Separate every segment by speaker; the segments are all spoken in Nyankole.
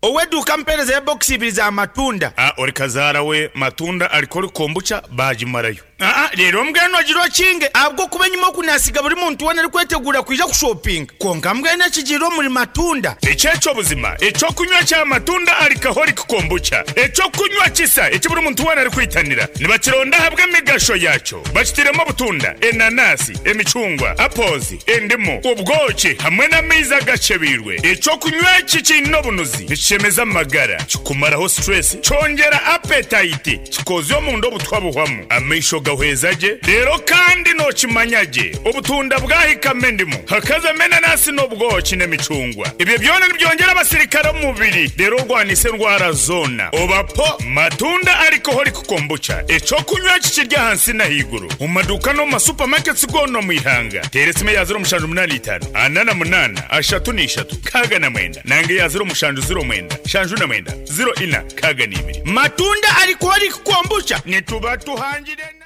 Speaker 1: Ow'eduuka mpeerezeyo ebokisi ibiri za matunda.
Speaker 2: A Ori kazaara we matunda alcoholic kombucha baagimarayo.
Speaker 1: Aa Reero mbwenu ogire okinge ahabw'okuba enyima oku naasiga buri muntu weena arikweteguura kwija kushopinga. Kwonka mbwenu ekigiire omuri matunda.
Speaker 2: Eki eky'obuzima eky'okunywa kya matunda alcoholic kombucha, eky'okunywa kisa eki buri muntu weena arikwitanira. Nibakironda ahabw'emigasho yaakyo. Bakitairemu obutunda, enanasi, emicungwa, apples, endimu, obwoki hamwe n'amaizi agakyebeirwe. Eky'okunywa eki kiine obunuzi, nikishemeza amagara, kikumaraho stress, kyongyera appetite, kikozya omunda obutwa buhwamu, amaisho gahweza gye, reero kandi nookimanya gye obutunda bwahikamu endimu, hakazamu enanasi n'obwoki n'emicungwa. Ebyo byona nibyongyera abasirikare omu mubiri reero orwanise endwara zoona. Oba po matunda alcoholic Kombucha, eky'okunywa eki kiri ahansi n'ahaiguru omu maduuka n'omu ma supermarkets goona omu ihanga. Teera esimu eya 0785 48 33 69 nanga eya 0709 79 04 62.
Speaker 1: Matunda Alcoholic Kombucha nituba tuhangire nayo.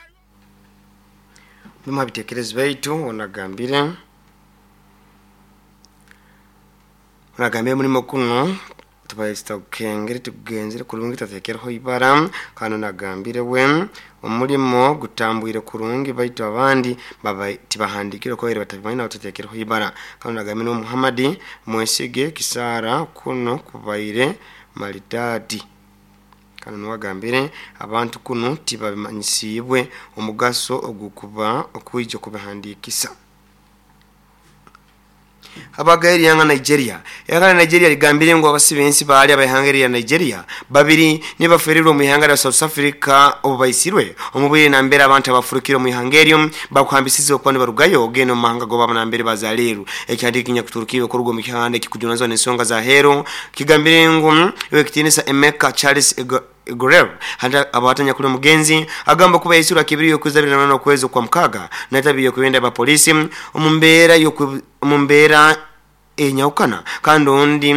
Speaker 3: Bimu ha bitekerezo baitu onagambire onagambire omulimo gunu Tubaire tutagukengire tigugenzire kurungi tutatekereho ibara. Kandi nagambire we omulimo gutambwire kurungi baitu abandi baba tibahandikire oku babaire batabimanyire nabo tutatekereho ibara. Kandi nagambire nuwe Muhammad Mwesige Kisara kunu kubaire maridadi. Kandi nuwe agambire abantu kunu tibamanyisiibwe omugaso ogukuba okwija kubihandikisa. Abagayo erihanga Nigeria. Eihanga rya Nigeria rigambire ngu abasi b'ensi baali ab'eihanga erya Nigeria babiri nibo baferirwe omu ihanga rya South Africa obu baitsirwe omu bwire nambere abantu abafurukire omu ihanga eryo bakuhambisizibwe kuba nibarugayo kugenda omu mahanga g'owaabo nambere bazarirwe. Ekihandiiko ekinyakuturukirwe kuruga omu kihanda ekikujunanizibwa n'ensonga za heeru kigambire ngu Ow'ekitiinisa Emeka Charles Igorel hati abahatanya kuri omugenzi agamba kuba yaitsirwe aha kibiri y'okwezi 28 okwezi Okwamukaaga naitabi y'okwebenda ba poliisi omu mbeera omu mbeera enyahukana kandi ondi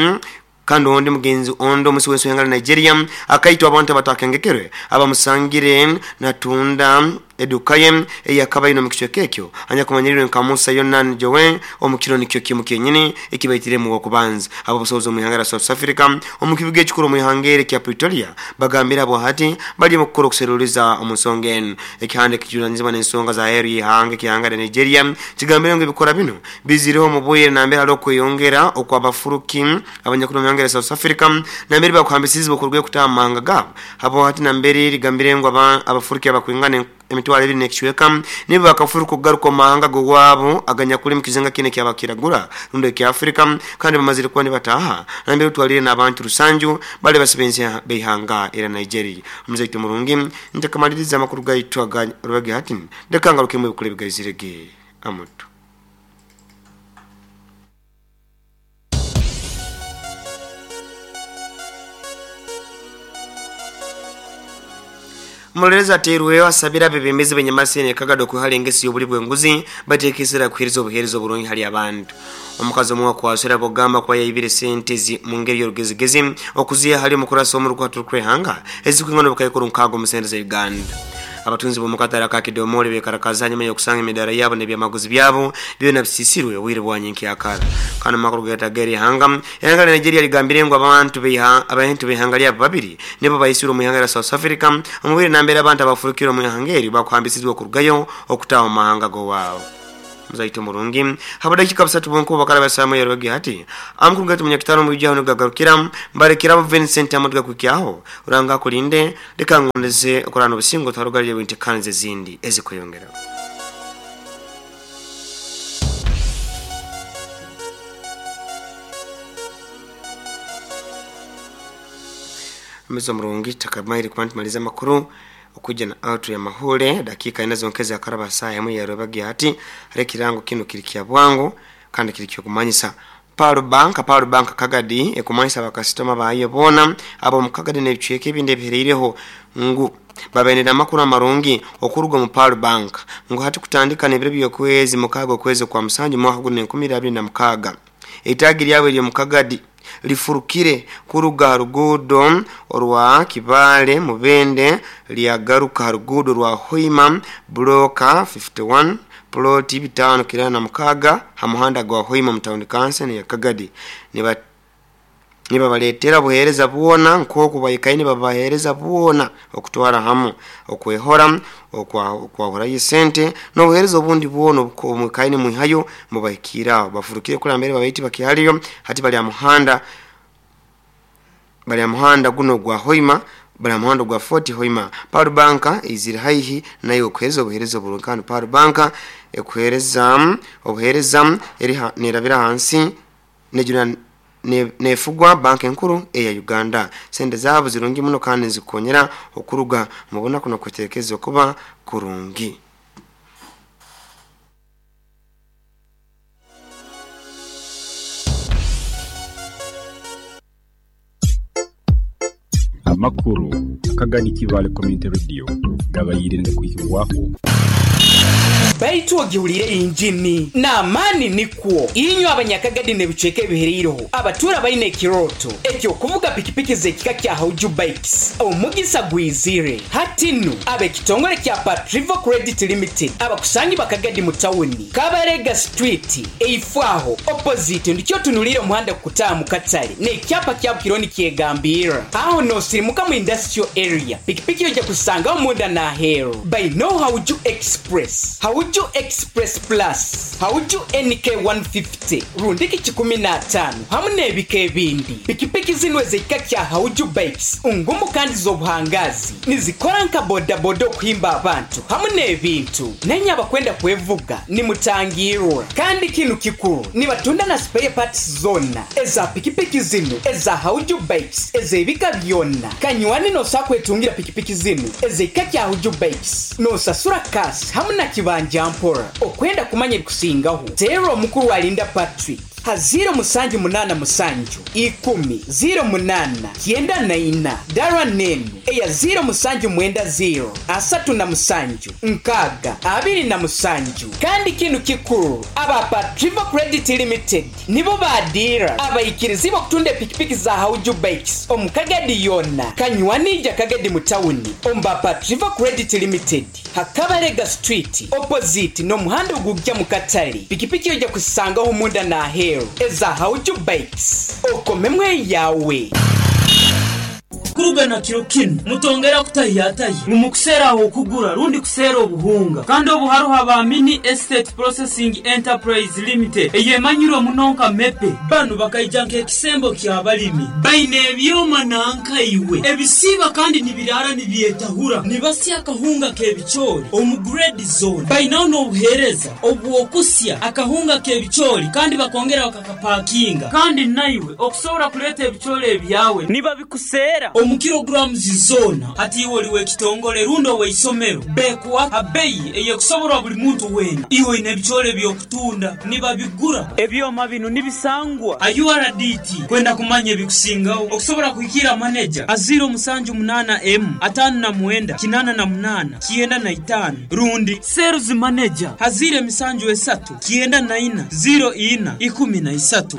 Speaker 3: kandi ondi mugenzi ondi omusi w'ensi w'eihanga rya Nigeria akaitwa abantu abatakengekerwe abamusangire natunda Eduka ye ei akaba aine omu kicweka ekyo, anyakumanyirirwe nka Musa Yonan Joe, omu kiro nikyo kimu kyenyini eki baitiremu ow'okubanza. Ab'obusobozi omu ihanga lya South Africa omu kibuga ekikuru omu ihanga eri ekya Pretoria bagambire abo hati bali omu kukora okuseruliza omu nsonga enu. Ekihanda ekijunanizibwa n'ensonga za aheeru y'ihanga eky'ihanga lya Nigeria kigambire ngu ebikora binu bizireho omu bwire nambere haroho okweyongera okw'abafuruki abanyakuli omu ihanga lya South Africa nambere bakuhambisizibwe okurugayo kutaaha omu mahanga gaabo. Habwo hati nambere rigambire ngu abafuruki abakwingana emitwaro ebiri n'ekicweka nibo bakafuruka okugaruka omu mahanga g'owaabo aganyakuli omu kizinga kinu eky'abakiragura rundi ekya Afrika kandi bamazire kuba nibataaha nambere otwaliire n'abantu rusanju bali basibensi b'eihanga erya Nigeria. Omuzaito murungi, ntakamaliriza amakuru gaitu aga Rwege hati, leka ngarukemu ebikuru ebigaizire ge amutu. Omuroleerezi ateirweho asabire abebembezi b'enyamasyo eno e Kagadi okwehara engeso y'obulyi bw'enguzi bateeke esira kuheereza obuheereza oburungi hali abantu. Omukazi omwe owakwasirwe ahabw'okugamba kuba yaibire sente ezi mungeri y'orugezigezi okuziha hali omukurasi w'omurukwata orukwehanga ezikwingana obukaikuru nkaaga omu sente za Uganda. Abatunzi b'omu katare aka Kidomole bekarakaza hanyuma y'okusanga emidaara yaabo n'ebyamaguzi byabo byona bisiisirwe obwire bwa nyenkyakara. Kandi omu makuru gaitu ag'erihanga, eihanga rya Nigeria rigambire ngu abantu abantu b'eihanga ryabo babiri nibo baitsirwe omu ihanga rya South Africa omu bwire nambere abantu abafurukire omu ihanga eryo bakuhambisizibwe okurugayo okutaaha omu mahanga g'owaabo. Muzaitu omurungi, habw'edakiika busatu bwonka obu bakaraba esaaha ya rwebagyo hati, amakuru gaitu munyakitara omu bwijwi aho nigo gagarukira. Mbarekere abo Vincent Amooti gakuhikyaho. Ruhanga akulinde. Leka ngondeze okurara n'obusinge otwarugarire bw'enteekaniza ezindi ezikweyongera. Omuze omurungi tutakamaire kuba nitumaliza amakuru okwija na outro ya mahuure dakiika ina zonka ezakaraba saaha emwe ya rwebagyo hati hariho ekirango kinu kiri kya bwangu kandi kiri ky'okumanyisa Pearl Bank, Pearl Bank Kagadi ekumanyisa bakasitoma baayo boona ab'omu Kagadi n'ebicweka ebindi ebihereireho ngu babainire amakuru amarungi okuruga omu Pearl Bank ngu hati kutandika n'ebiro by'okwezi mukaaga okwezi okwa musanju mwaka gunu enkumi ibiri abiri na mukaaga eitaagi lyabo ery'omu Kagadi lifurukire kuruga aha ruguudo orwa Kibaale Mubende lyagaruka aha ruguudo rwa Hoima Bulooka 51 Pulooti 596 ha muhanda gwa Hoima omu tawuni kanso eno eya Kagadi. Nibabareetera obuheereza bwona nk'oku baikaire nibabaheereza bwona okutwara hamu okwehora, okwahurayo esente n'obuheereza obundi bwona obu mwikaire nimwihayo mubahikiire aho. Bafurukire kuri nambere babaire tibakihariyo hati bari aha muhanda bari aha muhanda guno ogwa Hoima bari aha muhanda ogwa Fort Hoima. Pearl Bank eizire haihi naiwe kuheereza obuheereza oburungi kandi Pearl Bank ekuheereza obuheereza eri nerabira ahansi Nejuna nefugwa Banka Enkuru eya Uganda. Sente zaabo zirungi muno kandi nizikukonyera okuruga omu bunaku n'okweterekereza okuba kurungi.
Speaker 4: Amakuru akagani Kibaale Community Radio gabaire nigakwihibwaho.
Speaker 5: Baitu ogihuliire injini n'amaani nikwo. Inywe Abanyakagadi n'ebicweka ebihereireho abatuura baine ekirooto eky'okuvuga pikipiki z'ekika kya Hauju Bikes, omugisa gwizire. Hati nu, ab'ekitongore kya Patrivo Credit Limited abakusangibwa Kagadi mu tawuni, Kabarega Street, eifo aho, opposite, ndikyo otunuliire omuhanda kukutaaha mu katare n'ekyapa kya Bukiro nikyegambirra. Aho noosirimuka mu Industrial Area, pikipiki oija kuzisangaho munda n'aheeru. Baine Hauju Express, Hauju Express Plus, Hauju NK 150 rundiki 105 hamu n'ebika ebindi. Pikipiki zinu ez'ekika kya Hauju Bikes ngumu kandi z'obuhangaazi. Nizikora nka bodaboda okuhimba abantu hamu n'ebintu. Nainye abakwenda kwevuga nimutangirwa. Kandi kinu kikuru, nibatunda na spare parts zoona eza pikipiki zinu eza Hauju Bikes ez'ebika byona. Kanywani nosobola kwetungira pikipiki zinu ez'ekika kya Hauju Bikes nosasura cash hamu na kibanja mpora. Okwenda kumanya ebikusingaho, teera omukuru Alinda Patrick. Ha ziiro musanju munaana musanju, ikumi, ziiro munaana, kyenda na ina. Dara n'enu eya ziiro musanju mwenda ziiro, 37, 60, 27. Kandi kinu kikuru, aba Patrivo Credit Limited nibo ba diira abaikirizibwe okutunda epikipiki za Hauju Bikes omu Kagadi yoona. Kanywani ija Kagadi mu tawuni omu ba Patrivo Credit Limited. Ha Kabalega Street opposite n'omuhanda ogugya mu katare, pikipiki oija kuzisangaho munda n'aheeru eza Hauju Bikes. Okomemu eyaawe.
Speaker 6: Kuruga na kiro kinu, mutongera kutahiyatahya ngu mukuseera ah'okugura rundi kuseera obuhunga. Kandi obu haroho aba Mini Estate Processing Enterprise Limited eyemanyirwe muno nka MEPE. Banu bakaija nk'ekisembo ky'abalimi. Baine ebyoma nanka iwe ebisiiba kandi nibiraara nibyetahura, nibasya akahunga k'ebicoori omu grade zoona. Bainaho n'obuheereza obw'okusya akahunga k'ebicoori kandi bakongera bakakapakinga. Kandi naiwe okusobora kuleeta ebicoori ebyawe nibabikuseera omu kilograms zoona. Hati iwe oli w'ekitongole rundi ow'eisomero, bekuha ha beyi ey'ekusoborwa buli muntu weena. Iwe oine ebicoori eby'okutunda, nibabigura. Ebyoma binu nibisangwa ha URDT. Kwenda kumanya ebikusingaho, okusobora kuhikiira maneja ha 078 emu 59 88 95 rundi Sales Manager ha 073 94 04 13.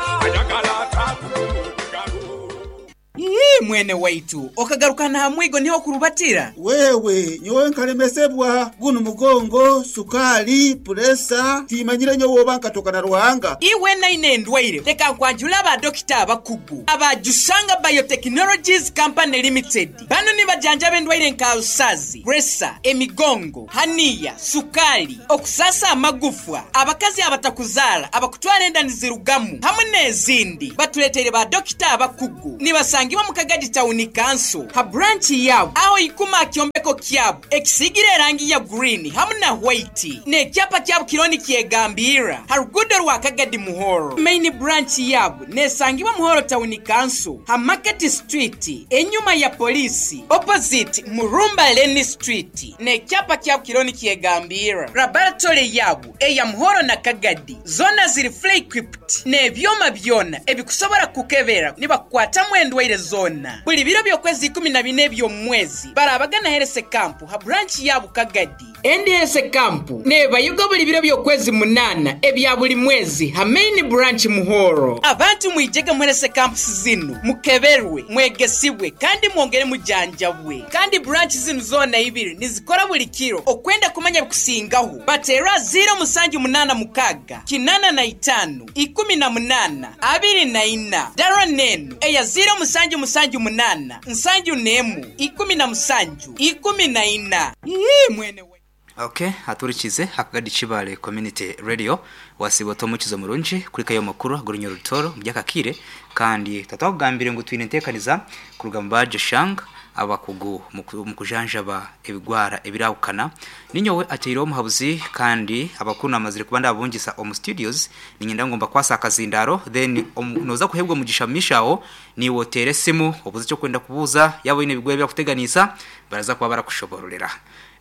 Speaker 5: Ii, Mwene waitu, okagaruka n'aha mwigo niho okurubatira?
Speaker 7: Wewe, nyowe nkalemesebwa gunu mugongo, sukaali, puresa, timanyire nyowe oba nkatoka na Ruhanga.
Speaker 5: Iwe naine endwaire, leka nkwanjule aba dokita abakugu aba Jushanga Biotechnologies Company Limited. Banu nibajanjaba endwaire nka alusazi, puresa, emigongo, haniya, sukaali, okusaasa amagufwa, abakazi abatakuzaara, abakutwara enda nizirugamu hamu n'ezindi. Batureteire ba dokita abakugu. Nibasangibwa mu Kagadi Tawuni Kanso ha branch yaabo aho ikuma aha kyombeko kyabo ekisiigire erangi ya green hamu na white n'ekyapa kyabo kiriho nikyegambirra ha ruguudo rwa Kagadi Muhoro. Main branch yaabo nesangibwa Muhoro Tawuni Kanso ha Market Street enyuma ya Poliisi opposite Murumba Lane Street n'ekyapa kyabo kiriho nikyegambirra. Laboratory yaabo eya Muhoro na Kagadi zoona ziri fully equipped n'ebyoma byona ebikusobora kukukebera nibakukwatamu endwaire zoona. Buli biro by'okwezi 14 eby'omu mwezi baraabaga na Health Camp ha branch ya Bukagadi. NDS Camp neebayoga buri biro by'okwezi munaana ebya buri mwezi ha Main Branch Muhoro. Abantu mwije muherese camps zinu mukeberwe, mwegesibwe kandi mwongere mujanjabwe. Kandi branch zinu zoona ibiri nizikora buri kiro. Okwenda kumanya ebikusingaho bateere aha ziiro mushanju munaana mukaaga 85 18 24. Dara n'enu eya ziiro mushanju mushanju munaana 71 17 14. Ii mwene waitu.
Speaker 8: Okay, aturikize akagadi Kibale Community Radio wasiba tomukizo murungi kuri kayo makuru agurunyo rutoro mubyakakire kandi tatwakugambire ngu twine ntekaniza kuruga mu baje shang abakugu mu kujanjaba ebigwara ebirahukana. Ninyowe ateire omuhabuzi kandi abakuru namazire kuba ndabungisa omu studios, ninyenda ngomba kwasa akazindaro then noza kuhebwa mugisha mishaho niwe otere simu obuze cyo kwenda kubuza yabo ine ebigwara byakuteganisa baraza kuba barakushobororera.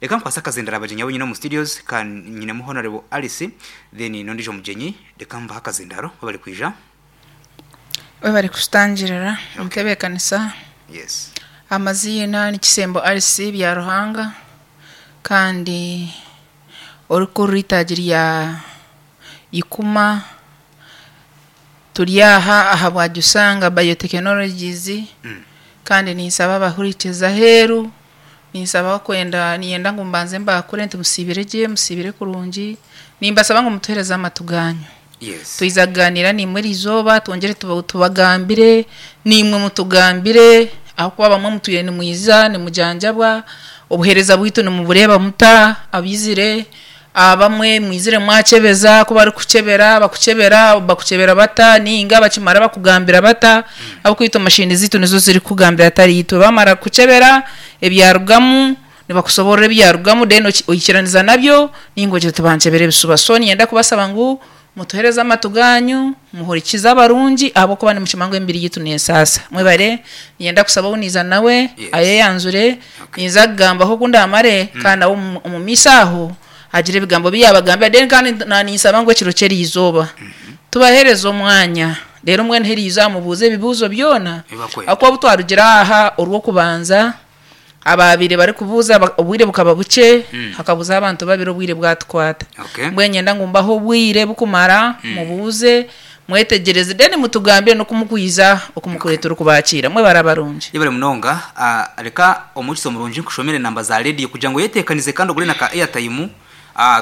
Speaker 8: Reka nkwasa akazindaro abagenyi abo nyine omu studios kan nyine mu Honorable Alice, then nondijo mugenyi. Reka mbaha akazindaro bari kwija.
Speaker 9: We bari kutangirira omutebeekanisa.
Speaker 8: Yes.
Speaker 9: Amaziina ni Kisembo Alice Byaruhanga, kandi orikurira itaagi rya Ikuma. Turi aha ahabwa Jusanga Biotechnologies, kandi ninsaba abahurikiza aheeru, ninsaba kwenda niyenda ngu mbanze mbakure nti musiibire gye, musiibire kurungi. Nimbasaba ngu mutuhereze amatu ganyu.
Speaker 8: Yes.
Speaker 9: Twiza kuganira nimwe erizooba, twongere tubagambire, nimwe mutugambire, ahakuba bamwe mutwire nimwiza nimujanjabwa, obuheereza bwitu nimubureeba muta abizire, abamwe mwizire mwachebeza, ku barikuchebera bakuchebera bakuchebera bata, ninga bakimara bakugambira bata, abakwita mashini zitu nizo ziri kugambira atari itwe. Bamara kuchebera ebyarugamu nibakusoborera ebyarugamu, then oikiraniza nabyo, ninga ogira tubanchebere ebisuba. So niyenda kubasaba ngu mutuhereze amatu ganyu, muhurikize abarungi, ahabw'okuba nimukima ngu emibiri yitu neesaasa. Mwebare, niyenda kusaba ou niiza nawe ayeyanzure, niiza kugambaho oku ndamare, kandi nawe omu maisho aho agire ebigambo bi yabagambira. Then kandi naninsaba ngu ekiro ky'eriizooba tubahereze omwanya, reero mbwenu heriizooba mubuuze ebibuuzo byona.
Speaker 8: Ebibakwenda.
Speaker 9: Ahakuba obu twarugira aha orw'okubanza, abaabire barikubuuza obwire bukaba bukye, hakabuza abantu babiri, obwire bwatukwata. Mbwenu nyenda ngu mbahe obwire bukumara, mubuuze, mwetegyereze, then mutugambire n'okumukwiza okumukure turikubakiira. Mwebare abarungi.
Speaker 8: Yebare munonga. Reka omukizo murungi nkushomere namba za radio kugira ngu oyetekanize kandi ogure na ka airtime,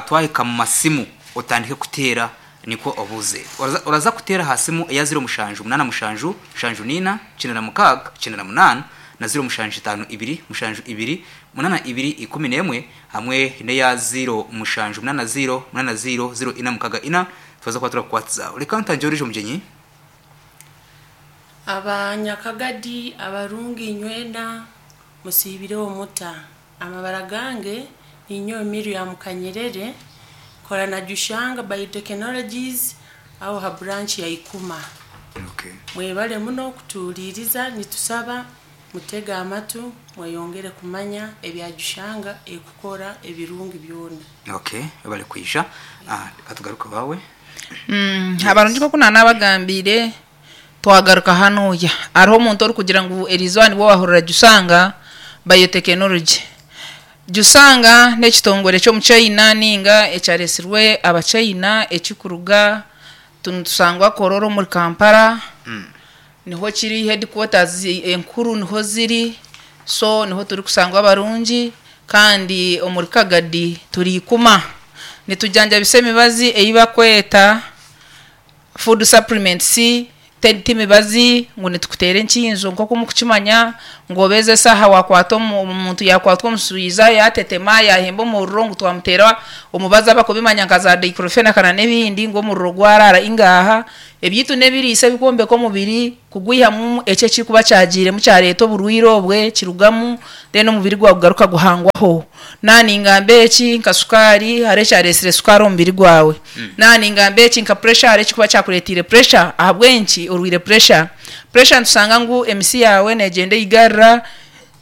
Speaker 8: twahika mu masimu otandike kuteera nikwo obuuze. Oraza kuteera aha simu eya 0787 74 96 98 na 0752 72 82 11 hamwe n'eya 0780 80 0464, twaza kuba turakukwatiza. Reka ntangire orije omugyenyi.
Speaker 10: Abanyakagadi abarungi inywena musiibireho muta. Amabara gange ninyowe Miriam Kanyerere, kora na Jushanga Biotechnologies aho ha branch ya Ikuma. Mwebale muno kutuuliriza, nitusaba mutege amatu mweyongere kumanya ebya Jushanga ekukora ebirungi byona.
Speaker 8: Okay, bari kwisha. Reka tugaruke bawe.
Speaker 9: Abarungi nk'oku naanabagambire, twagaruka hanuya hariho omuntu orikugira ngu eriizooba nibwo wahurira Jusanga Biotechnology. Jusanga n'ekitongore ky'omuchina ninga ekyaresirwe abachina, ekikuruga nitusangwa Kororo omuri Kampala, niho kiri headquarters enkuru niho ziri. So niho turikusangwa abarungi, kandi omuri Kagadi turi Ikuma, nitujanjabisa emibazi ei bakweta food supplements. Ti mibazi ngu nitukuteera enkinzo nk'oku mukukimanya ngu obeeze esaaha wakwata omuntu yakwatwa omuswiza yatetema yahemba omuriro ngu twamuteera omubazi abakubimanya nka za diclofenac na n'ebindi ngu omuriro gwarara. Ingaha, ebyitu n'ebiriisa ebikwombeka omubiri kugwihamu ekyo ekirikuba kyagiiremu kyareeta oburwire obwe kirugamu, then omubiri gwawe gugaruka guhangwaho. Naningamba eki nka sukaari, hariho ekyareesire sukaari omu mubiri gwawe. Naningamba eki nka pressure, hariho ekikuba kyakureetiire pressure, ahabw'enki orwire pressure. Pressure nitusanga ngu emisi yaawe neegyenda eigarira,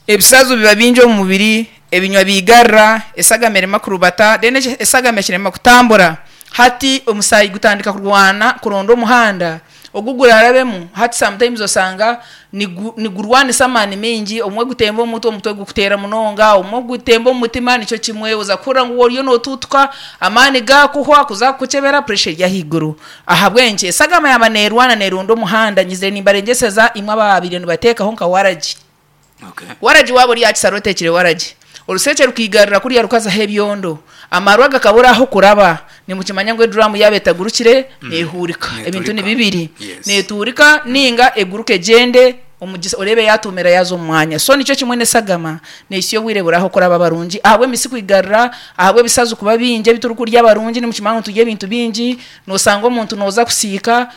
Speaker 9: ebisazo biba bingi omu mubiri, ebinywa bigarira, esagama erema kurubata, then esagama ekirema kutambura. Hati omusaayi gutandika kurwana kuronda omuhanda. Ogu gurarabemu hati sometimes osanga nigu nigurwanisa amaani maingi obumwe gutemba omu mutwe, omutwe gukuteera munonga, obumwe gutemba omu mutima nikyo kimwe oza kuhurira ngu oriyo notuutuka, amaani gaakuhwa kuza kukukyebera pressure eri ahaiguru. Ahabw'enki? Esagama yaaba neerwana neeronda omuhanda, nyizire nimbarengyeseza imwe abaabaire nibateekaho nka waragi. Waragi waaba ori aha kisaro oteekire waragi, oruseekye rukaigarira kuriya rukazaho ebyondo, amarwa gakabura ah'okuraba, nimukimanya ngu eduraamu yaaba etagurukire neehuurika. Ebintu ni bibiri, neetuurika nainga eguruke egyende omugisa oreebe yaatuumira yaaza omu mwanya. So nikyo kimwe n'esagama, neehitsya obwire buri ah'okuraba abarungi ahabw'emisi kwigarira, ahabw'ebisazi kuba bingi ebi turikurya abarungi nimukimanya ngu niturya ebintu bingi, noosanga omuntu nooza kusiika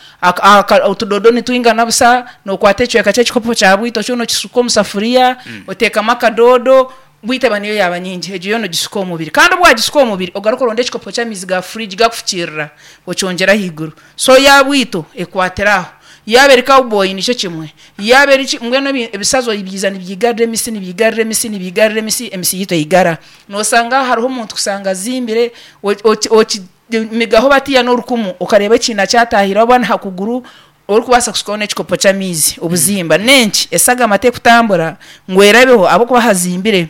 Speaker 9: Otudodo nitwingana busa, nokwata ekicweka ky'ekikopo kya bwito kyona okisuka omu safuriya, oteekamu akadoodo, bwito eba niyo yaaba nyingi, egyo yoona ogisuka omu mubiri. Kandi obu waagisuka omu mubiri, ogaruke oronde ekikopo ky'amaizi ga furiji gakufukiirira, okyongyere ahaiguru. So ya bwito ekwatire aho. Yaaba eri cowboy nikyo kimwe, yaaba eri ki, mbwenu ebisazi obiiza nibyigarira emisi, nibyigarira emisi, nibyigarira emisi, emisi yaitu eigara. Noosanga hariho omuntu kushanga azimbire, oti. Migaho batiya n'orukumu okareeba ekiina kyatahire oba n'aha kuguru orikubaasa kushukaho n'ekikopo ky'amaizi obuzimba. N'enki? Esagama tekutambura ngu erabeho ahabw'okuba hazimbire.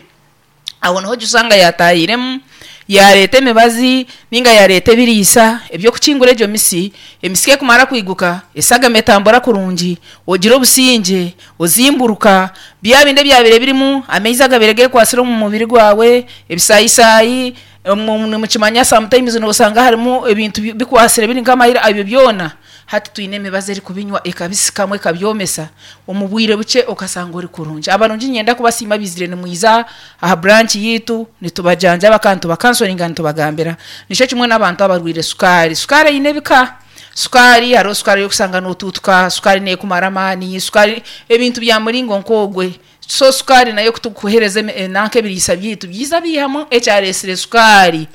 Speaker 9: Aho niho ojusanga yaatahiremu yaareeta emibazi nainga yaareeta ebiriisa eby'okukingura egyo misi. Emisi ku ekumara kwiguka, esagama etambura kurungi, ogira obusingye, ozimburuka, bya bindi ebyabaire birimu amaizi agabaire geekwatsire omu mubiri gwawe, ebisaayi-saayi, Nimukimanya sometimes nosanga harimu ebintu bikwasire biri nk'amahira ebyo byona hati twine emibazi erikubinywa ekabisikamu ekabyomesa omu bwire bukye okasanga ori kurungi. Abarungi niinyenda kubasiima abaizire nimwiza aha branch yaitu nitubajanjaba kandi nitubakansoringa nitubagambira. Nikyo kimwe n'abantu abarwaire sukaari, sukaari eine ebika, sukaari hariho sukaari ei orikusanga notuutuka, sukaari neekumara amaani, sukaari ebintu bya muringo nk'ogwe. So sukaari nayo ku turikuheereza nanka ebiriisa byaitu byiza biihamu ekyareetsire sukaari.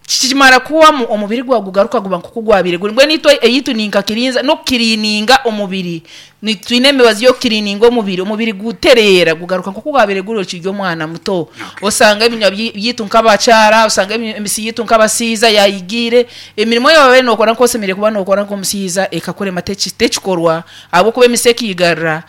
Speaker 9: Kikimara kuhwamu omubiri gwawe gugaruka guba nk'oku gwabaire guri. Mbwenu itwe eyaitu ni nka kirinza n'okukiriininga omubiri. Twine emibazi y'okukiriininga omubiri, omubiri gutereera gugaruka nk'oku gwabaire guri okiri omwana muto. Osanga ebinywa byaitu nk'abakyara, osanga emisi yaitu nk'abashaija yaayigiire, emirimo ei waabaire nookora nk'oku osemeriire kuba nookora nk'omushaija ekakurema tekikorwa ahabw'okuba emisi ekaigarira.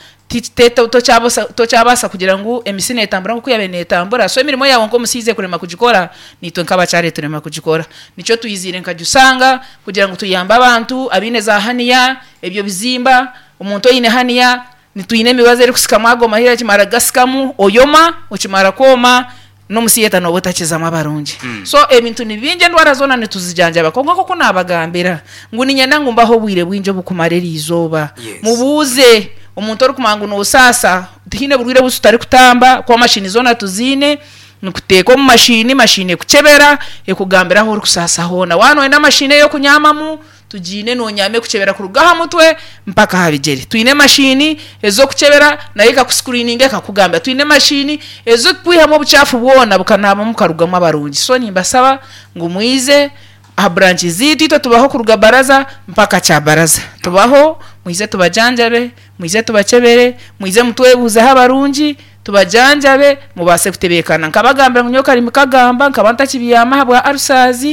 Speaker 9: Tokyabaasa kugira ngu emisi neetambura nk'oku yaabaire neetambura, so emirimo yaawe nk'omushaija ekurema kugikora, naitwe nk'abakyara eturema kugikora. Nikyo twiziire nka Jusanga kugira ngu tuyambe abantu abaine za haniya, ebyo bizimba, omuntu oine haniya, nitwine emibazi erikusikamu ago mahira ekimara kugasikamu oyoma, okimara kwoma, N'omusieta nooba otakizamu abarungi. So ebintu ni bingi endwara zoona nituzijanjaba kwonka nk'oku naabagambira ngu niinyenda ngu mbahe obwire bwingi obukumara eri izooba. Mubuuze omuntu orikumanya ngu noosaasa, tihaine burwaire obu tutarikutamba kuba mashini zoona tuziine, nikuteeka omu mashini, mashini ekukyebera ekugambira ahu orikusaasa hoona. Waaba nooyenda mashini ey'okunyaamamu, Tugiine nonyaama ekukyebera kuruga aha mutwe mpaka aha bigyere. Twine emashini ez'okukyebera nayo ekakusikurininga ekakugambira. Twine emashini ez'okukwihamu obukyafu bwona bukanaabamu bukarugamu abarungi. So nimbasaba ngu mwize aha branch zaitu itwe tubaho kuruga baraza mpaka kyabaraza. Tubaho mwize tubajanjabe, mwize tubakyebere, mwize mutwebuuzeho abarungi, tubajanjabe mubaase kutebeekana. Nkabagambira ngu nyowe karimi kagamba nkaba ntakibyama ahabwa ulcers,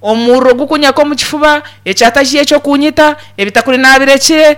Speaker 9: omuriro gukunyaka omu kifuba, ekyatahi eky'okunyita, ebitakuri naabirekire,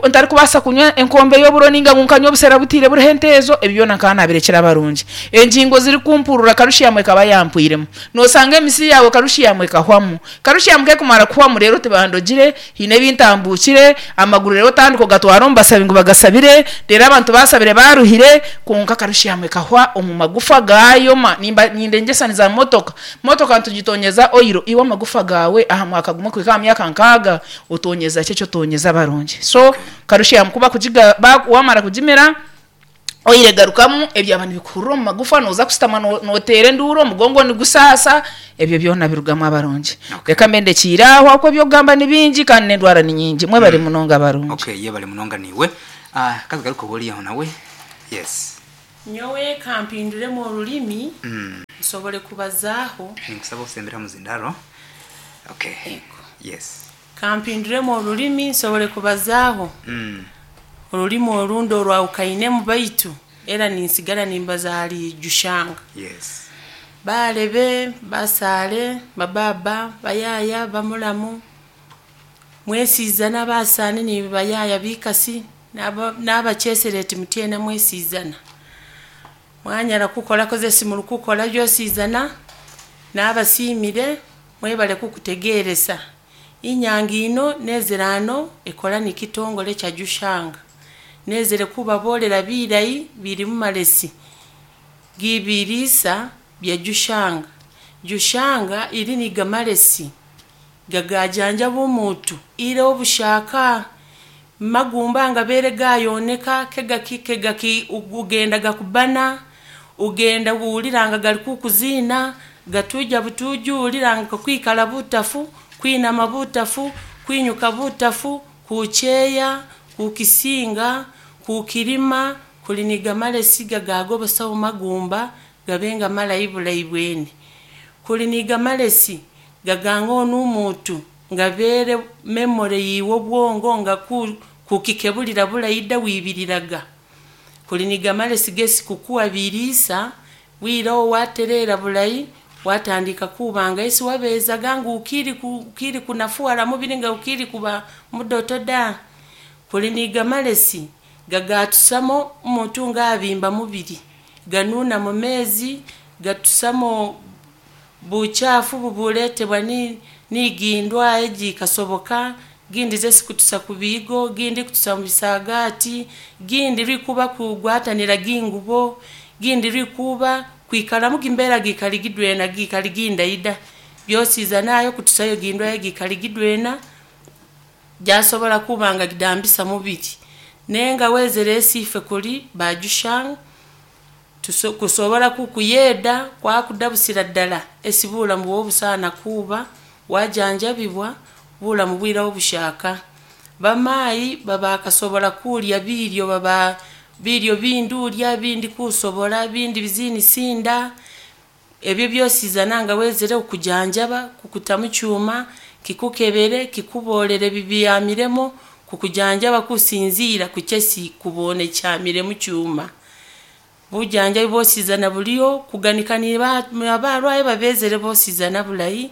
Speaker 9: ntarikubaasa kunywa enkombe y'oburo nainga ngu nkanywa obusera butiire buriho enteezo, ebi byona nkaba naabirekire abarungi. Engingo zirikumpurura karushiyamu ekaba yaampwiremu. Noosanga emisi yaawe karushiyamu ekahwamu. Karushiyamu ku ekumara kuhwamu reero tibandogire, haine ebi ntambuukire, amaguru reero otandika ogatwara omu basabi ngu bagasabire, reero abantu baasabire baaruhire, kwonka karushiyamu ekahwa omu magufa gaayoma. Nimba nindengyesaniza motoka, motoka nitugitonyeza oyiro, iwe amagufa gaawe aha mwaka gumwe kuhika aha myaka nkaaga otonyeza ki eki otonyeza abarungi? So karushiyamu ku bakugiga waamara kugimira, Oil egarukamu ebyaba nibikuhurira omu magufa noza kusitama noteera enduuru omugongo nigusaasa ebyo byona birugamu abarungi. Reka mbe ndekiire aho ahabw'okuba eby'okugamba ni bingi kandi n'endwara ni nyingi. Mwebare munonga abarungi.
Speaker 8: Okay yebare munonga naiwe. Katugaruke owori aho nawe. Yes.
Speaker 10: Nyowe ka mpinduremu orurimi nsobole kubazaaho.
Speaker 8: Ninkusaba osembere aha muzindaaro. Okay. Yes.
Speaker 10: Ka mpinduremu orurimi nsobole kubazaaho orurimi orundi orwahukainemu baitu era ninsigara nimbaza ahari Jushanga. Baalebe, basaale, babaaba, bayaaya, bamuramu, Mwesiizana basaani nibayaya bikasi n'abachesereti mutyena mwesiizana. Mwanyara kukola kozesi murikukola byosizana n'abasiimire mwebale kukutegeresa. Inyanga ino nezerano ekola nikitongole kya Jushanga. Nezere kubabolera birayi biri mu malesi gibirisa bya Jushanga. Jushanga iri ni gamalesi gagajanja b'omuntu ire obushaka magumba nga bere gayoneka kegaki kegaki ugenda gakubana ugenda wuuliranga gali kukuzina gatuja butuju uliranga kwikala butafu kwinama butafu kwinyuka butafu kucheya kukisinga kukirima kuliniga malesi gagagobosa magumba gabenga malayi bulayi bwene kuliniga malesi gaganga onumuntu nga bere memory yiwe obwongo nga kukikebulira bulayi dda wibiriraga kuliniga malesi gesi kukuwa birisa wirawo waterera bulayi watandika kubanga esi wabezaga nga ukiri kunafuwala mubiri nga ukiri kuba mudoto da kuliniga malesi gagatusamo omuntu nga abimba mubiri ganuna mu mezi gatusamo buchafu bubuletebwa nigindwa ejikasoboka gindi zesi kutusa kubigo gindi kutusa mu bisagati gindi rikuba kugwatanira gingubo gindi rikuba kwikalamu gimbera gikaligidwena gikaliginda byosiza nayo kutusayo gindwa gikaligidwena jasobola kubanga gidambisa mubiri nenga wezere esife kuli bajushanga kusobola kukuyeda kwakudabusira ddala esibula mu bwobusana kuba wajanjabibwa bula mu bwira obushaka bamayi babakasobola kulya biryo baba biryo bindulya bindi kusobola bindi bizini sinda ebyo byosiza nanga wezere okujanjaba kukutamu cyuma kikukebere kikubolere bibiyamiremo kukujanjaba kusinzira kuchesi kubone cyamire mu cyuma bujanja bosizana buliyo kuganikanira abarwaye babezere bosizana bulayi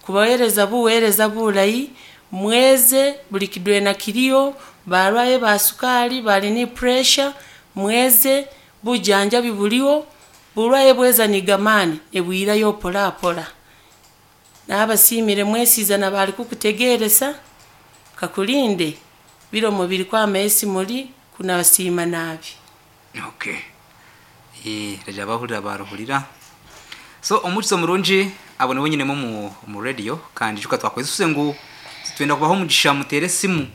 Speaker 10: kubahereza buwereza bulayi mweze buli kidwena kiriyo barwaye ba sukali bali ni pressure mweze bujanja bibuliyo bulwaye bweza nigamani ebwirayo pola pola n'abasimire mwesizana bali kukutegeresa kakulinde biro mubiri kwa mesi muri kunabasima nabi.
Speaker 8: Okay. Raja bahurira baruhurira so omukizo murungi abone wenyine mu radio kandi juka twakwezuse ngu twenda kubaho mugisha mutere simu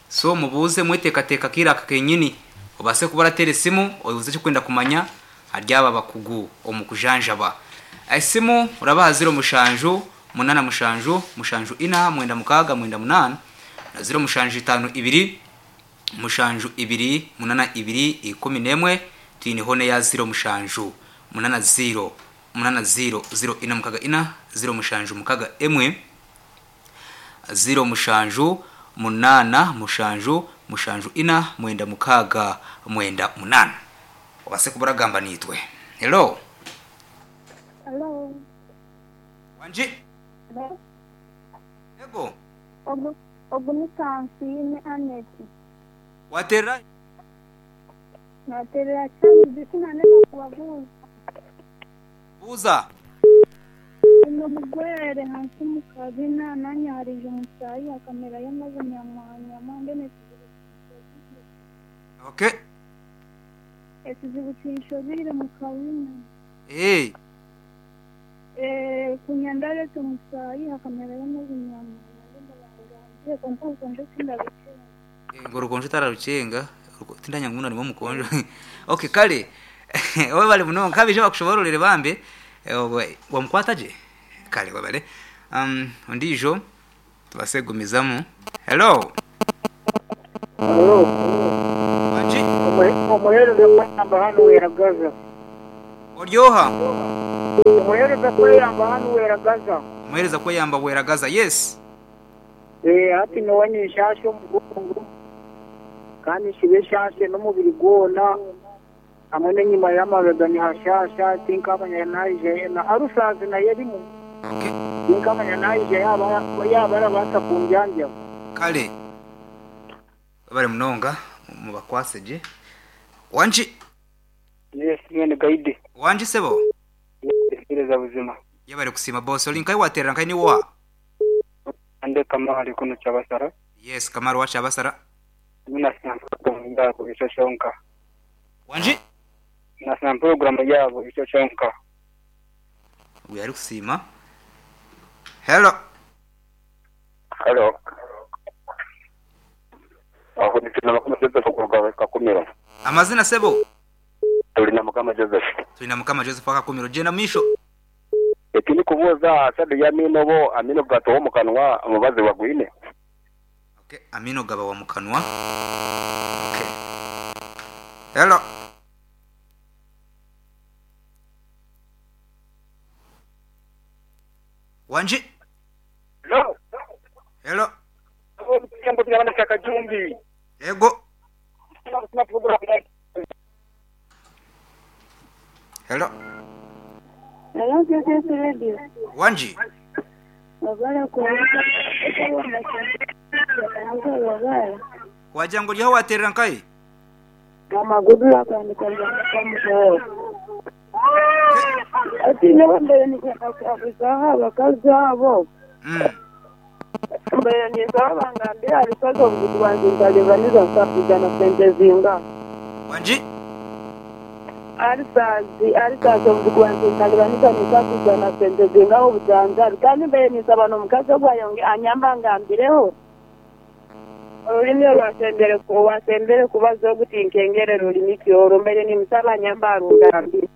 Speaker 8: so mubuze mwetekateka kira kenyini obase kubara tere simu obuze cyo kwenda kumanya haryaba bakugu omukujanjaba esimu urabaha 0 mushanju 8 mushanju mushanju 4 mwenda mukaga mwenda 8 na 0 mushanju 5 2 mushanju 2 8 2 11 twini hone ya 0 mushanju 8 0 8 0 0 4 mukaga 4 0 mushanju mukaga emwe 0 mushanju 8 mushanju mushanju 4 mwenda mukaga mwenda 8 obase kubaragamba nitwe. Hello.
Speaker 11: Hello.
Speaker 8: Wanji.
Speaker 11: Hello.
Speaker 8: Ego.
Speaker 11: Ogu ogu ni Aneti.
Speaker 8: Watera
Speaker 11: Naterera cyane sinaneka kubabuza.
Speaker 8: Buza.
Speaker 11: Uno mugwere hansi mu kabina nanyarije umusayi akamera yamaze nyamwanya mbene.
Speaker 8: Okay.
Speaker 11: Ekizibu kinshobire mu kabina.
Speaker 8: Eh.
Speaker 11: Kunyandare tumusayi akamera yamaze nyamwanya mbene konko konje sindabicenga.
Speaker 8: Ngoro tararucenga tindanya nguna nimo mukonjo. Okay kale owe bali muno kabije bakushobororere bambe wamukwata je kale wabale ondijo tubasegumizamu. Hello.
Speaker 12: Hello.
Speaker 8: Wanji
Speaker 12: omuhereza kweyamba hano weragaza.
Speaker 8: Oryoha
Speaker 12: omuhereza kweyamba hano weragaza.
Speaker 8: Omuhereza kweyamba weragaza. Yes.
Speaker 12: Hati niwe nshasha omugongo kandi shibe shashe n'omubiri gwona hamwe n'enyima y'amabega nihashasha tinkamanya naije na arusazi naye erimu tinkamanya naije yaba arabaasa kunjanja.
Speaker 8: Kale webale munonga mubakwase gye. Wangi.
Speaker 12: Yes mwene guide.
Speaker 8: Wangi sebo.
Speaker 12: Ntegereza buzima.
Speaker 8: Yebale kusiima boss. Oli nkahi waterera nkahi ni wa?
Speaker 12: Ande Kamali kunu Kyabasara.
Speaker 8: Yes Kamali owa Kyabasara.
Speaker 12: Nasiima pulogulaamu yaabo ekyo kyonka.
Speaker 8: Wangi.
Speaker 12: Nasiima pulogulaamu yaabo ekyo kyonka.
Speaker 8: Ogwo yali kusiima. Hello.
Speaker 13: Halo. Aho ni Tulinamukama Joseph okuruga Kakumiro.
Speaker 8: Amazina sebo?
Speaker 13: Tulinamukama Joseph.
Speaker 8: Tulinamukama Joseph owa Kakumiro. Gyenda mu maisho.
Speaker 13: Eki nikubuuza aha sado y'amaino obo amaino gatoha omu kanwa omubazi bagwine?
Speaker 8: Okay, amaino gaba wa mu kanwa. Okay. Hello. Wangi.
Speaker 12: Hello.
Speaker 8: Hello.
Speaker 12: Kajumbi.
Speaker 8: Ego. Hello.
Speaker 11: Hello, KKS Radio.
Speaker 8: Wangi.
Speaker 11: Wabala kuwulira
Speaker 8: Wagira ngu oriho waterera nkahi?
Speaker 11: Amaguru akandika mutooro. Hati nyowe mbaire niinyenda kuhabuzaho abakazi abo. Mbaire ninsaba bangambire ahari saza obuguzi bwangye nkareeba niza kusafiriza sente zingaha.
Speaker 8: Wangi?
Speaker 11: Ahari saazi ahari saazi obuzigu bwangye nkareeba niza ninsafiriza na sente zingaha obujanjabi. Kandi mbaire ninsaba n'omukazi ogwo ayonge anyambe angambireho. Orurimi orwasembere owasembere kubaza ogu tinkengere rurimi ki orwo, mbaire nimusaba anyambe arungambire.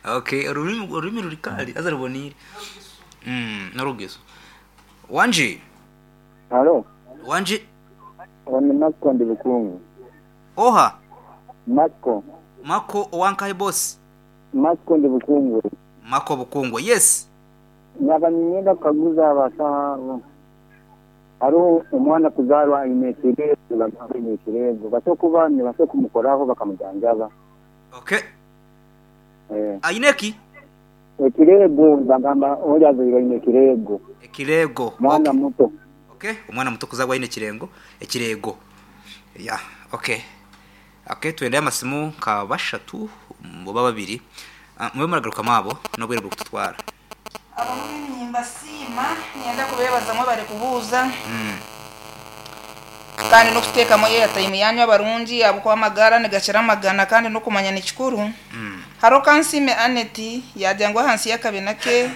Speaker 8: Okay, orurimi orurimi ruri kare haza ruboneire. Mm, n'orugezo. Wangi?
Speaker 14: Halo.
Speaker 8: Wangi?
Speaker 14: Oni Marko ndi Bukungu.
Speaker 8: Oha?
Speaker 14: Marko.
Speaker 8: Marko owa nkahi boss?
Speaker 14: Marko ndi Bukungwe.
Speaker 8: Marko Bukungwe, yes.
Speaker 14: Naba niinyenda kukaguza abasaho abo, hariho omwana kuzaarwa aine ekireego nibagamba aine ekireego, basobola kuba nibasobola kumukoraho bakamujanjaba?
Speaker 8: Okay.
Speaker 14: Eh.
Speaker 8: Aine ki?
Speaker 14: Ekireego nibagamba ori azairwe aine ekireego.
Speaker 8: Ekireego.
Speaker 14: Mwana muto.
Speaker 8: Okay, omwana muto kuzaarwa aine ekirengo, ekireego. Yeah, okay. Okay, twendayo amasimu nka bashatu oba babiri. Mube muragarukamu abo n'obwire burikututwara.
Speaker 9: Abamwe nimbasiima, niinyenda kubeebaza mwebare kubuuza kandi n'okuteekamu airtime yaanyu abarungi ahabw'okuba amagara nigakira amagana kandi n'okumanya ni kikuru. Hariho Kansiime Annet yaagira ngu ahansi y'akabina ke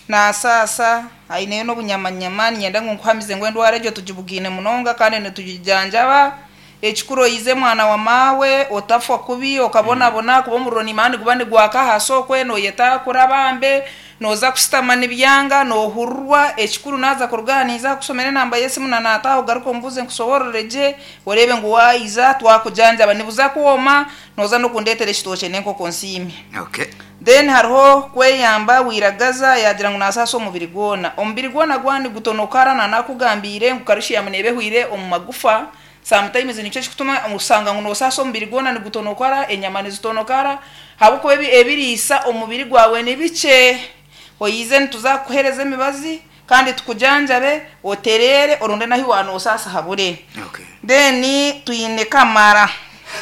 Speaker 9: naasaasa aineyo n'obunyamanyama niinyenda ngu nkuhamize ngu endwara egyo tugibugaine munonga kandi nitugijanjaba. Ekikuru oize mwana wa maawe, otafwa kubi, okabonabona ahakuba omuriro niimanya niguba nigwaka ahaasi okwe, nooyeta kurabambe, nooza kushutama nibyanga, noohurirwa. Ekikuru naaza kuruga aha ninza kukushomera enamba y'esimu na naataaha ogaruke ombuuze nkushoboorore gye, oreebe ngu waiza twakujanjaba. Nibuza kwoma, nooza n'okundeetera ekitookye n'enkoko nsiime.
Speaker 8: Okay.
Speaker 9: Then hariho kweyamba, Wiragaza yaagira ngu naasaasa omubiri gwona. Omubiri gwona gwaba nigutonokara na naakugambiire ngu karushiyamu neeba ehwaire omu magufa, Sometimes nikyo ekikutuma oshanga ngu nosaasa omubiri gwona nigutonokara, enyama nizitonokara ahabw'okuba ebiriisa omubiri gwawe ni bikye. Oyize nituza kukuhereza emibazi kandi tukujanjabe otereere oronde n'ahi wanosaasa habure. Then twine Kamara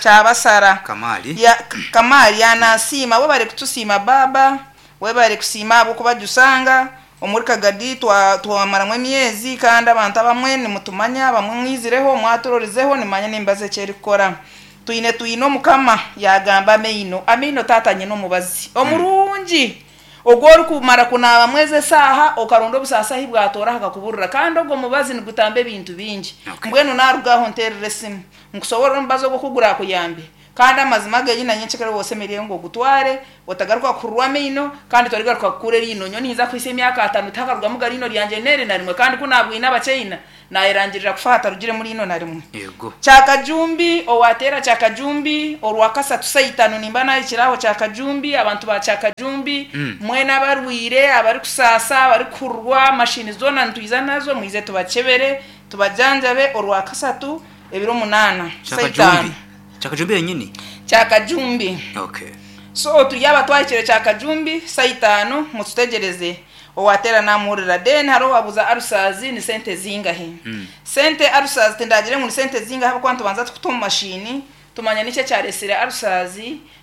Speaker 9: Kyabasara.
Speaker 8: Kamali.
Speaker 9: Ya, Kamali yanasiima webare kutusiima baaba. Webare kusiima ahabw'okuba Jusanga omuri Kagadi twamaramu emyezi kandi abantu abamwe nimutumanya abamwe mwizireho mwaturorizeho nimanya n'emibazi eki erikukora. Twine twine Omukama yagamba amaino amaino taata nyine omubazi omurungi ogu orikumara kunaabamu ezi esaaha okaronda obusaasi ahi bwatoora hakakuburira kandi ogwo mubazi nigutamba ebintu bingi. Mbwenu naruga aho nterera esimu nkusoborore omubazi ogu oku gurakuyambe. Kandi amazima agenyini na nyencekare waaba osemereire ngu ogutware, otagaruka kuhururwa amaino, kandi torigaruka kukura eriino. Nyowe niinza kuhitsya emyaka atano tihakarugamu ga riino ryangye n'eri na rimwe, kandi ku naabwine Abachaina, naayerangirira kufa hatarugiremu riino na rimwe.
Speaker 8: Yego.
Speaker 9: Kyakajumbi, Owaateera Kyakajumbi, Orwakasatu saa itano nimba naahikire aho Kyakajumbi, abantu ba Kyakajumbi, mwena abarwaire, abarikusaasa, abarikuhururwa, mashini zoona nitwiza nazo, mwije tubakyebere, tubajanjabe, Orwakasatu ebiro munaana, saa itaano.
Speaker 8: Kyakajumbi. Kyakajumbi yenyini?
Speaker 9: Kyakajumbi.
Speaker 8: Okay.
Speaker 9: So turi aba twahikire Kyakajumbi saa itaano mututegyereze. Owateera namuhurira. Then hariho owabuuza ulcers ni sente zingahi. Sente ulcers tindagire ngu ni sente zingahi ahabw'okuba nitubanza tukuta omu mashini tumanya niki ekyaresire ulcers,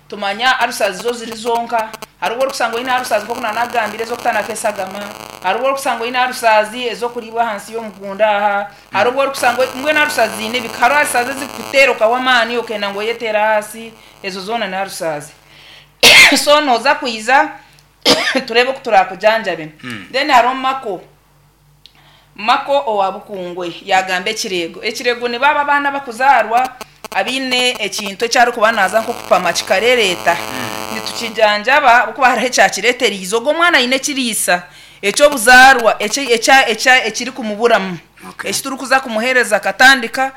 Speaker 9: tumanya ulcers zo ziri zonka. Hariho obu orikushanga oine ulcers nk'oku nanagambire ez'okutanaka esagama, hariho obu orikushanga oine ulcers ez'okuriibwa ahansi y'omugunda aha, hariho obu orikusanga mbwenu ulcers ziine ebika. Hariho ulcers ezikukuteera okahwa amaani okenda ngu oyeteere ahansi, ezo zoona ni ulcers. So noza kwiza tureebe oku turakujanjabe. Then hariho Mako, Mako owa Bukungwe yaagamba ekireego. Ekireego nibo abo abaana abakuzaarwa abaine ekintu eki arikuba naaza nk'okupama kikarereeta. Nitukijanjaba ahabw'okuba hariho ekyakireetereize. Ogwo omwana aine ekiriisa eky'obuzaarwa ekirikumuburamu eki turikuza kumuheereza akatandika,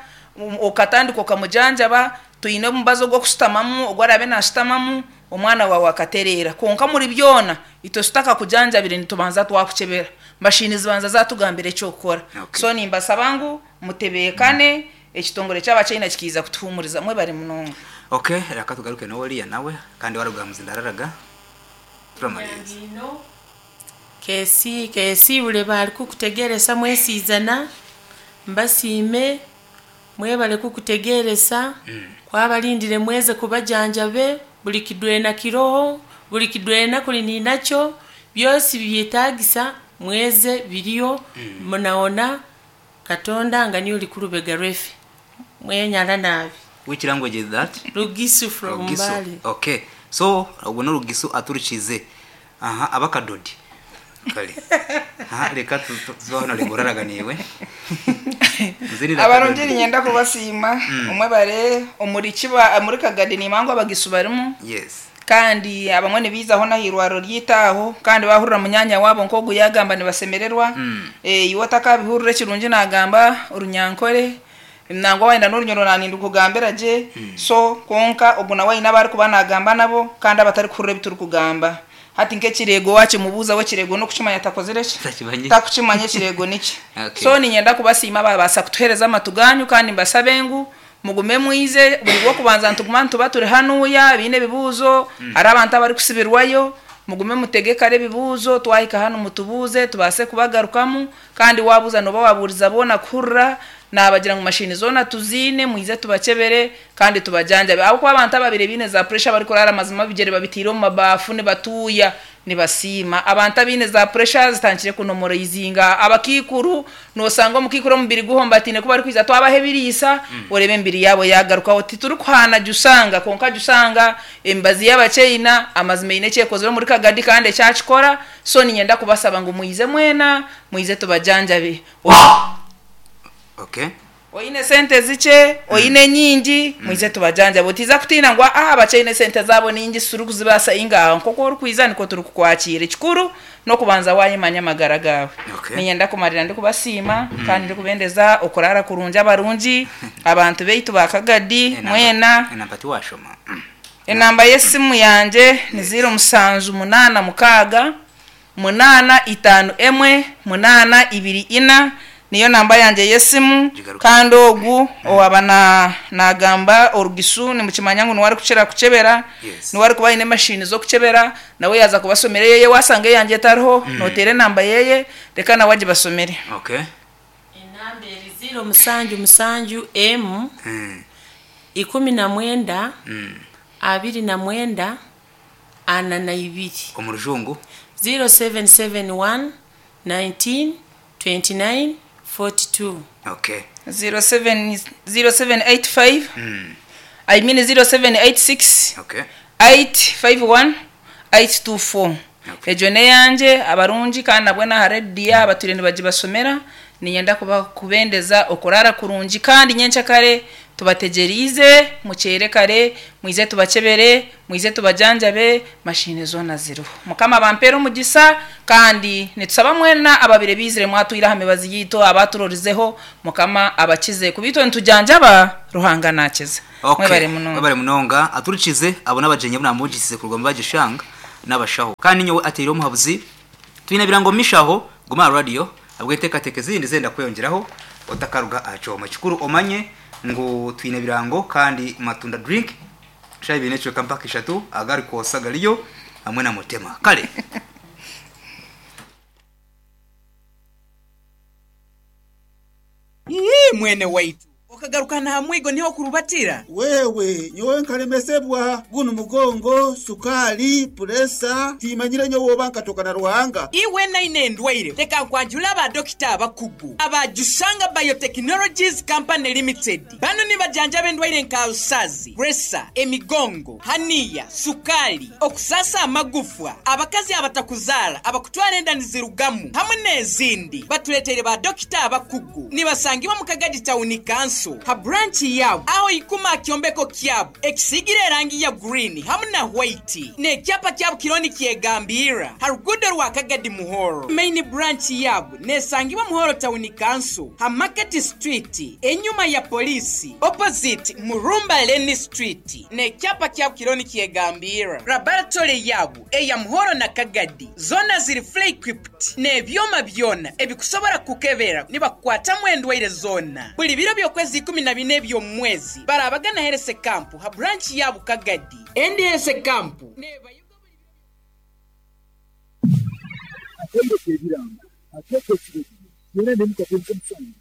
Speaker 9: okatandika okamujanjaba. Twine omubazi ogw'okushutamamu ogu araabe naashutamamu. Omwana waawe akatereera. Kwonka omuri byona, itwe tutakakujanjabire nitubanza twakukyebera. Mashiini zibanza zatugambira eky'okukora. So nimbasaba ngu mutebeekane, ekitongore ky'Abachina kikaija kutuhuumuriza. Mwebare munonga.
Speaker 8: Ok reka tugaruke n'oriya nawe kandi waruga aha muzindaaro araga turamaliriza.
Speaker 10: Kesi kesiibure bari kukutegeresa mwesiizana mbasiime Mwebale kukutegeresa, kwabalindire mweze kubajanjabe, buli kidwena kiroho, buli kidwena kuli ninakyo, byosi bibyetagisa mweze biriyo, munaona Katonda nga niye oli kulubega lwefe. Mwenyala nabi.
Speaker 8: Which language is that?
Speaker 10: Lugisu from
Speaker 8: Lugisu.
Speaker 10: Mbale.
Speaker 8: Okay. So ogwo n'orugisu aturukize. Aha abakadodi. Kale. Aha reka tubaho na rigoraraga niiwe. Nzinira
Speaker 9: Abarungi
Speaker 8: akadodi.
Speaker 9: niinyenda kubasiima omwebare omuri kiba omuri Kagadi niimanya ngu abagisu barimu
Speaker 8: Yes.
Speaker 9: kandi abamwe nibaizaho n'aha irwariro ryaitu aho kandi baahurira munyaanya waabo nk'ogu yaagamba nibasemererwa. Iwe otakabihurira ekirungi naagamba Orunyankore Nangwa wayenda n'orunyoro nanindukugambira gye so kwonka ogu nawe ayine abarikuba nagamba nabo kandi abatarikuhurira ebiturikugamba. Hati nk'ekireego wakimubuuza we ekireego n'okukimanya takozire ki?
Speaker 8: Takimanyire.
Speaker 9: Takukimanya ekireego niki.
Speaker 8: Okay.
Speaker 9: So niinyenda kubasiima ababaasa kutuheereza amatu gaanyu kandi mbasabe ngu mugume mwize buri rwokubanza nituguma nituba turi hanuuya abaine ebibuuzo, hariho abantu abarikusibirwayo, mugume mutege kare ebibuuzo twahika hanu mutubuuze tubaase kubagarukamu. Kandi waabuuza nooba waabuuriza boona kuhurira, naabagira ngu mashiini zoona tuziine, mwije tubakyebere kandi tubajanjabe. Ahabw'okuba abantu ababaire baine za puresha barikuraara mazima ebigyere babiteire omu mabaafu nibatuuya, nibasiima. Abantu abaine za puresha zitandikire kunomoraizinga. Abakaikuru, noosanga omukaikuru omubiri guhombataine ku barikwija twabaha ebiriisa, oreeba emibiri yaabo yaagarukaho. Titurikuhaana Jusanga, kwonka Jusanga emibazi y'Abachaina amazima eine eki ekozire omuri Kagadi kandi ekyakikora. So niinyenda kubasaba ngu mwije mwena, mwije tubajanjabe.
Speaker 8: Okay.
Speaker 9: Oine sente zikye, oine nyingi, mwije tubajanjabe. Otiiza kutiina ngu aa abakyaine sente zaabo ningi titurikuzibaasa. Inga nk'oku orikwija nikwo turikukwakiira. Ekikuru n'okubanza waayemanya amagara gaawe.
Speaker 8: Okay.
Speaker 9: Niinyenda kumarira ndikubasiima kandi ndikubendeza okuraara kurungi abarungi, abantu baitu ba Kagadi
Speaker 8: Enamba,
Speaker 9: mwena.
Speaker 8: enamba tiwaashoma.
Speaker 9: Enamba y'esimu yangye ni ziiro mushanju munaana mukaaga, munaana itaano emwe, munaana ibiri ina, niyo namba yangye y'esimu, kandi ogu owaaba naagamba Orugisu nimukimanya ngu niwe arikukira kukyebera, niwe arikuba aine emashiini z'okukyebera, nawe yaaza kubasomera eyeye, waashanga eyangye etariho, nooteera enamba yeye, reka nawe agibasomere.
Speaker 10: Enamba eri ziiro musanju musanju emu, 19, 29, 42.
Speaker 8: Omu Rujungu.
Speaker 10: 0771 19 29 42.
Speaker 8: Okay.
Speaker 9: 07 0785 I mean 0786
Speaker 8: Okay.
Speaker 9: 851 824 Egyo n'eyangye abarungi kandi nabwo n'aha rediyo abatwire nibagibashomera. Niinyenda kuba kubendeza okuraara kurungi kandi nyenkyakare tubategyereize, mukyere kare, mwije tubakyebere, mwije tubajanjabe, mashiini zoona ziriho. Mukama abampeere omugisa kandi nitusaba mwena ababaire baizire mwatwire aha mibazi yaitu abaturorizeho Mukama abakize kuba itwe nitujanjaba, Ruhanga naakiza.
Speaker 8: Okay.
Speaker 9: Mwebare munonga.
Speaker 8: Mwebare munonga. Aturikize abo n'abagyenyi abu naamugisize kuruga omu Bagishanga n'abashaho. Kandi nyowe ateire omuhabuzi. Twine ebirango omu mishaho, guma aha radiyo ahabw'enteekateeka ezindi ezenda kweyongyeraho otakaruga aha kyoma. Ekikuru omanye ngu twine ebirango kandi Matunda Drink shaaha ibiri n'ekicweka mpaka ishatu agarikwosa gariyo hamwe na Mutema. Kare.
Speaker 5: Mwene waitu, okagaruka n'aha mwigo niho okurubatira?
Speaker 7: Wewe, nyowe nkalemesebwa gunu mugongo, sukaali, puresa, tiimanyire nyowe oba nkatoka na Ruhanga.
Speaker 5: Iwe naine endwaire, leka nkwanjule aba dokita abakugu aba Jushanga Biotechnologies Company Limited. Banu nibajanjaba endwaire nka alusazi, puresa, emigongo, haniya, sukaali, okusaasa amagufwa, abakazi abatakuzaara, abakutwara enda nizirugamu hamwe n'ezindi. Batureteire ba dokita abakugu. Nibasangibwa mu Kagadi Tawuni Kanso ha buranki yaabo aho ikuma aha kyombeko kyabo ekisiigire erangi ya gurini hamu na hwaiti n'ekyapa kyabo kiriho nikyegambirra ha ruguudo rwa Kagadi Muhoro. Maini buranki yaabo nesangibwa Muhoro Tawuni Kanso ha Market Street enyuma ya Poliisi opposite Murumba Lane Street n'ekyapa kyabo kiriho nikyegambirra. Laboratory yaabo eya Muhoro na Kagadi zoona ziri fully equipped. N'ebyoma byona ebikusobora kukukebera nibakukwatamu endwaire zoona. Buli biro by'okwezi 14 eby'omu mwezi barabaga na Herese Camp ha branch ya Bukagadi. Endi Herese Camp nebayoga buli biro by'okwezi.
Speaker 15: Akaire k'ebirango, akeetwa ekiragiro, kyona n'emikago nk'omusango.